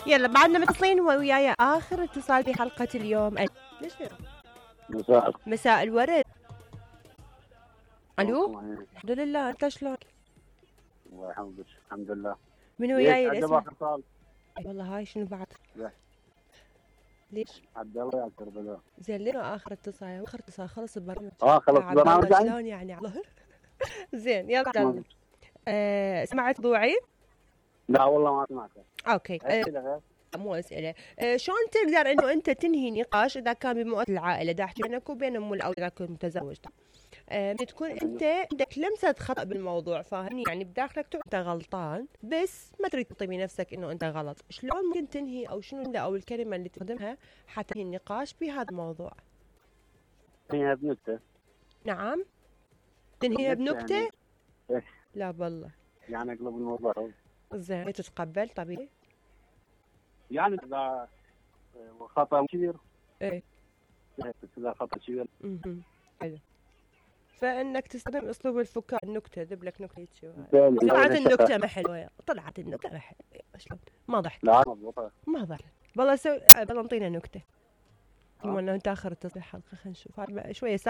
يلا بعدنا متصلين وياي اخر اتصال في حلقة اليوم. ليش مساء الورد. الو. الحمد لله، انت شلونك؟ الله يحفظك. الحمد لله. من وياي الاسم؟ والله هاي شنو بعد؟ ليش؟ عبد الله يا كربلاء. زين ليش اخر اتصال؟ اخر اتصال خلص البرنامج. خلص البرنامج شلون يعني الله. زين يلا. سمعت موضوعي؟ لا والله ما سمعته. اوكي. مو اسئله. شلون تقدر انه انت تنهي نقاش اذا كان بمؤسسه العائله، دا احكي بينك وبين ام او اذا كنت متزوج، تكون انت عندك لمسه خطا بالموضوع، فاهمني؟ يعني بداخلك انت غلطان بس ما تريد تطيب نفسك انه انت غلط. شلون ممكن تنهي او شنو او الكلمه اللي تستخدمها حتى تنهي النقاش بهذا الموضوع؟ تنهيها بنكته. نعم تنهيها بنكته؟ يعني لا بالله يعني اقلب الموضوع. زين تتقبل طبيعي؟ يعني اذا خطا كبير. ايه اذا خطا كبير. حلو. فانك تستخدم اسلوب الفكاهه، النكته، ذب لك نكته طلعت النكته ما حلوه، طلعت النكته ما حلوه. شلون ما ضحك؟ لا مضبوطه ما ضحك والله. والله انطينا نكته. المهم انت اخر التصريح حلقه، خلينا نشوف شويه